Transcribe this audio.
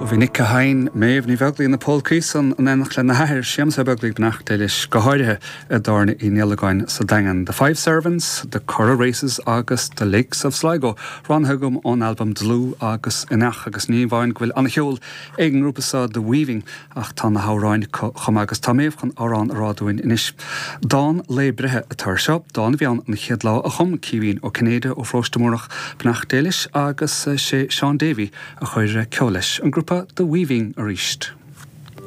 Bhí Nick a sheinn Méabh Ní Bheaglaoí na polcaí san in éineacht lena hathair, Séamus Ó Beaglaoich, beannacht Dé leis, go háirithe i dTábhairne Uí Niallagáin sa Daingean. The Five Servants, The Curragh Races agus The Lakes of Sligo roghnaithe agam ón albam Dlúth agus Inneach agus ní amháin go bhfuil an-cheol ag an ngrúpa seo The Weaving ach tá na hamhráin acu chomh maith agus tá Méabh chun amhrán a rá dúinn anois. Dán lae breithe atá ar seo, dán a bhí ann an chéad lá a chum Caoimhín Ó Cinnéide ó Pharóiste Múrach, beannacht Dé leis, agus sé Seán Davey a chuir ceol leis. An grúpa The Weaving arís.